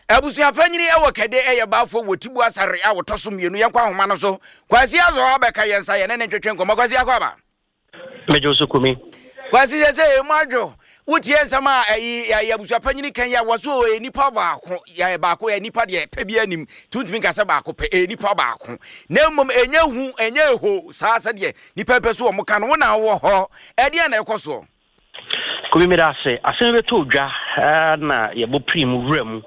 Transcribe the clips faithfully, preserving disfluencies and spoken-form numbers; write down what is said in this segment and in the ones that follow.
Abusuapanyini ɛwɔ Kɛde ɛyɛ baafoɔ wɔ Tibu Asare a wɔtɔ so mmienu. Yɛnkɔ ahoma no so. Kwasi Azɔ abɛka yɛn nsa, yɛne ne ntwetwe nkɔmmɔ. Kwasi, akɔ aba. Mɛgye so, Kumi. Kwasi, sɛ sɛ emu adwo, wotie nsɛm a ɛyi ɛyɛ abusuapanyini kan yi a wɔso ɔyɛ nipa baako, yɛ baako, yɛ nipa deɛ pɛ bi anim tuntun nka sɛ baako pɛ, ɛyɛ nipa baako, na mmom ɛnyɛ hu, ɛnyɛ eho saa sɛdeɛ nipa pɛ so wɔn ka no. Wo na wɔ hɔ, ɛdeɛn na ɛkɔ soɔ? Kumi, meda ase. Asɛm bɛtɔ dwa na yɛbɔ piri mu wura mu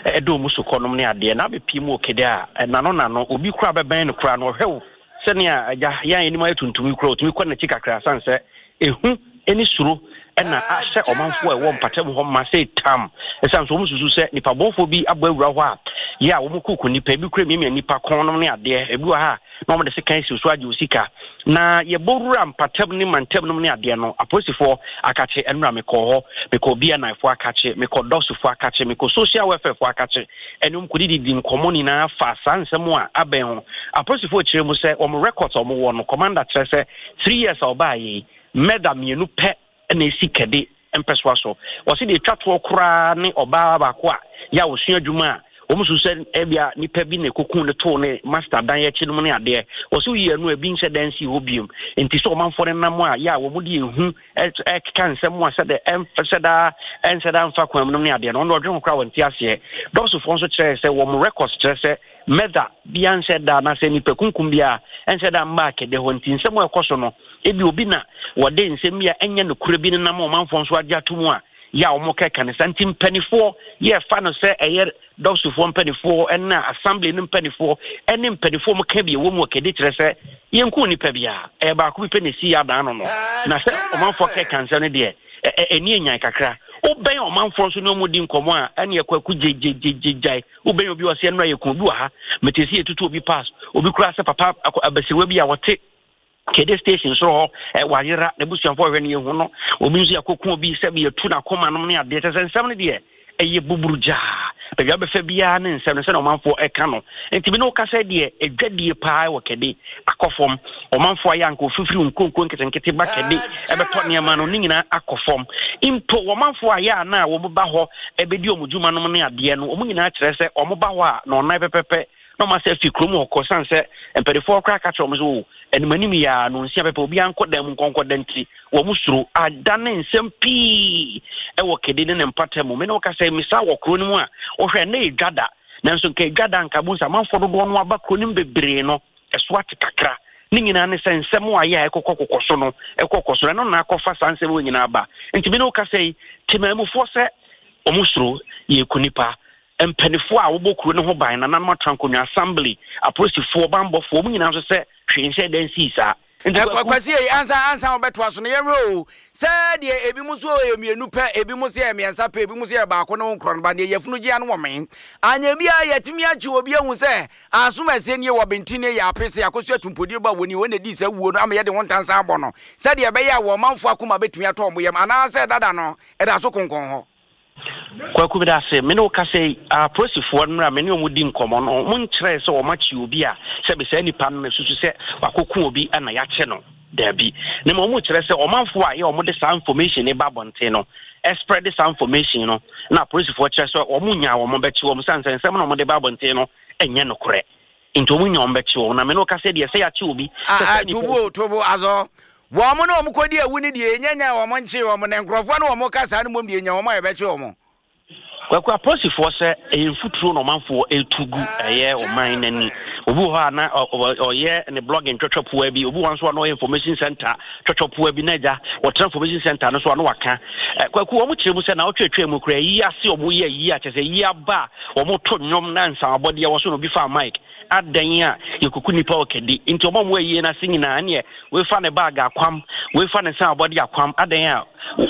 ɛdɔ mu sokɔ nom ne adeɛ na abɛpie mu wɔ Kede a nano nano obi kora bɛbɛn no koraa no, ɔhwɛ wo sɛnea agya yɛn anim ayɛ tuntum yi kora, ɔtumi kɔ n'akyi kakra, sane sɛ ehu ne suro ɛna ahyɛ ɔmanfoɔ a ɛwɔ mpatam hɔ ma sɛ tam, ɛsiane sɛ wɔn susu sɛ nipa bɔnfoɔ bi abɔ awura hɔ a yɛ a wɔn kuku nipa ebi kura miamia nipa kɔn nom ne adeɛ ebi wɔ ha na wɔn de sekan si so agye osika. Na yɛbɔ wura mpatam ne mantam nom ne adeɛ no, apolisifoɔ akakye ɛnura mekɔ hɔ, mekɔ B N I foɔ akakye, mekɔ dɔsofoɔ akakye, mekɔ social welfare foɔ akakye, ɛne wɔn kɔdididi nkɔmɔ nyinaa fa saa nsɛm a abɛn ho. Apolisifoɔ kyerɛ mu sɛ wɔn records a wɔn wɔ no, commander kyerɛ sɛ three years a ɔbaa yi, murder mmienu pɛ ɛna esi Kɛde mpɛsoa so. Wɔsi deɛ etwa toɔ koraa ne ɔbaa baako a yɛ a wɔsua adwuma a wɔn nso sɛ ɛbia nipa bi na ekoko ne too ne master dan akyi nom ne adeɛ. Wɔsi oyi ɛno ebi nhyɛ dan si hɔ biem, nti sɛ ɔmanfoɔ no nam a yɛ a wɔn de ehu ɛkeka nsɛm a sɛdeɛ ɛnfɛ daa ɛnhyɛ daa nfa kwan mu nom ne adeɛ no, ɔno ɔdwe ho koraa wɔn ti aseɛ. Dɔsfoɔ nso kyerɛ sɛ wɔn records kyerɛ sɛ murder bia nhyɛ da anaasɛ nipa kunkum bia ɛnhyɛ da mmaa Kɛdɛ hɔ, nti nsɛm a ɛkɔ so no, ebi obi na wɔde nsɛm bi a ɛnyɛ nokorɛ bi nenam ɔmanfoɔ nso agye ato mu a yɛ a wɔn kɛka ne sa. Nti mpanimfoɔ yɛfa no sɛ ɛyɛ dɔsofoɔ mpanimfoɔ ɛna assembly no mpanimfoɔ ɛne mpanimfoɔ mu ka bi ɛwɔ mu wɔ Kɛde kyerɛ sɛ yɛnku nipa biara, ɛyɛ baako bi pɛ na esi yɛ adan no no na sɛ ɔmanfoɔ kɛka nsɛm no deɛ, ɛni enyan kakra. Wobɛn ɔmanfoɔ nso ne ɔmo di nkɔmɔ a, ɛne ɛkɔ ɛkɔ gyegyegyegyae. Wobɛn obi wɔ sɛ ɛnura yɛ kun obi wɔ ha, mete sɛ yɛtutu obi pass, obi kura sɛ papa abasiriwa bi a wɔte Kede station soro hɔ ɛ wayera, n'abusuafoɔ hwɛ no yɛhu no. Obi nso yɛakɔku obi sɛ yɛtu n'akoma nom ne adeɛ. Kyɛ sɛ nsɛm no deɛ ɛyɛ buburu gyaa baabi abɛfɛ biara ne nsɛm no sɛne ɔmanfoɔ ɛka no. Nti bi ne woka sɛ deɛ ɛdwadie paa wɔ Kɛde akɔ fam. Ɔmanfoɔ ayɛ anka ofifiri nkonko nketenkete ba Kɛde ɛbɛtɔ nneɛma no ne nyinaa akɔ fam. Mpo ɔmanfoɔ ayɛ a na wɔn ba hɔ ɛbɛdi wɔn dwuma nom ne adeɛ no, wɔn nyinaa kyerɛ sɛ wɔn ba hɔ a na ɔnan pɛpɛpɛ na ɔma sɛ fi kurom hɔ kɔ, san sɛ mpanimfoɔ koraa ka kyerɛ wɔn sɛ o anim anim yɛ a no nsia pɛpɛ obiara nkɔ dan mu nkɔnkɔ da, nti wɔn suro adane nsɛm pii ɛwɔ Kɛde ne ne mpata mu. Mene wɔka sɛ misa wɔ kuro no mu a wɔhwɛ ne edwa da, nanso nka edwa da nka bo nsa amanfoɔ dodoɔ no aba kuro no mu bebree no, ɛso ate kakra. Ne nyinaa ne sɛ nsɛm a ayɛ a ɛkɔkɔ kokɔ so no ɛkɔkɔ so no, ɛno na akɔfa saa nsɛm wɔ nyinaa ba. Nti mene wɔka sɛ yi temamufoɔ sɛ wɔn suro yɛku nipa. Mpanimfoɔ a wɔbɔ kuro no ho ban, nananom atena nkonnwa, assembly, apolisifoɔ, bambɔfoɔ, wɔn nyinaa nso sɛ hwee nhyɛ dan sii saa. Kwasi yi, ansa ansa wɔbɛtoa so no, yɛhwɛ o sɛ deɛ ebi mu so yɛ mmienu pɛ, ebi mu so yɛ mmiɛnsa pɛ, ebi mu so yɛ baako ne ho nkorɔ no ba deɛ yɛfunu gye ano wɔ men anya bi a yɛtumi akyi obi ehu sɛ asom ɛsɛ nie wɔ benten ne yɛ ape sɛ akɔso atumpodie ba wɔ ni wɔn na di sɛ wuo no ama yɛde ho ntansa abɔ no sɛdeɛ ɛbɛyɛ a wɔn manfo akoma bɛtumi atɔ wɔn yam, anaasɛ dada no ɛda so konkɔn hɔ? Kwaku, bi da ase. Me ne wo kasa yi, apolisifoɔ no mmerɛ me ne ɔmo di nkɔmmɔ no, ɔmo nkyerɛ sɛ ɔmo akyi obi a sɛbi saa nipa no na susu sɛ wakɔku obi ɛna yɛakye no. Daabi, na ma ɔmo kyerɛ sɛ ɔmanfoɔ a yɛ ɔmo de saa information ne ba abɔnten no, ɛspread saa information no, na apolisifoɔ kyerɛ sɛ ɔmo nya wɔn bɛkye wɔn, san sɛ nsɛm na ɔmo de ba abɔnten no ɛnyɛ nokorɛ, nti ɔmo nya wɔn bɛkye wɔn. Na me ne wo kasa deɛ, sɛ yɛakye obi Tobo tobo azɔ wɔn mo ne wɔn kɔdi awu ne deɛ ɛnyɛ nya wɔn nkye wɔn, na nkurɔfoɔ ne wɔn kasa no mmom deɛ nya wɔn a yɛbɛkye wɔn. Kwaku, apolisifoɔ sɛ ɛyɛ mfuturo na ɔmanfoɔ ɛtu gu ɛyɛ ɔman n'ani. Obi wɔ hɔ a na ɔyɛ ne blogging twɛtwɛpoa bi, obi wɔ nso a na ɔyɛ information center twɛtwɛpoa bi, na agya wɔtena information center no so a na waka. Kwaku, wɔn kyerɛ mu sɛ na ɔtwɛtwɛ mu kura yi ase wɔn yɛ yi a kyerɛ sɛ yi aba a wɔn to nnwom na nsamabɔdeɛ wɔ so na obi fa mic adan a yɛkuku nipa wɔ Kɛde, nti ɔmo a ɔmo ayie n'ase nyinaa neɛ wefa ne bag akwam, wefa ne nsa abɔde akwam adan a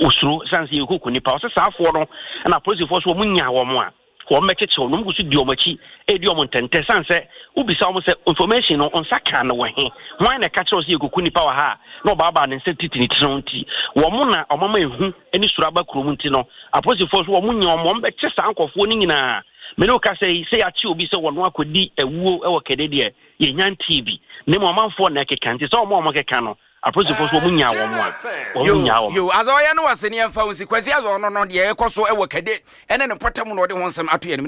osuro san sɛ yɛkuku nipa. Ɔsɛ saafoɔ no ɛna apolisifoɔ so wɔn nya wɔn a wɔn bɛkyekyere wɔn, wɔn gu so di wɔn akyi edi wɔn ntɛntɛ, san sɛ wobisa wɔn sɛ information no nsa kan no wɔ he, hwan na ɛka kyerɛ sɛ yɛkuku nipa wɔ ha a, na ɔbaabaa ne nsa titi ne tiri ho, nti wɔn na wɔn ama ehu ne suro aba kurom. Nti no apolisifoɔ so wɔn nya wɔn, wɔn bɛkye saa nkɔfoɔ no nyinaa. Mene wo kasa yi, sɛ yɛakye obi sɛ wɔno akɔdi awuo wɔ Kɛde deɛ, yɛnya ntii bi, na mmom ɔmanfoɔ na ɛkeka, nti sɛ ɔmo a ɔmo keka no, apolisifoɔ so wɔn nya wɔn a wɔn nya wɔn. Yo, azɔ ɔyɛ no wase ne yɛmfa wo nsi. Kwasi azɔ ɔno no deɛ ɛkɔ so ɛwɔ Kɛde ɛne ne mpɔtam na ɔde ho nsɛm ato yɛn.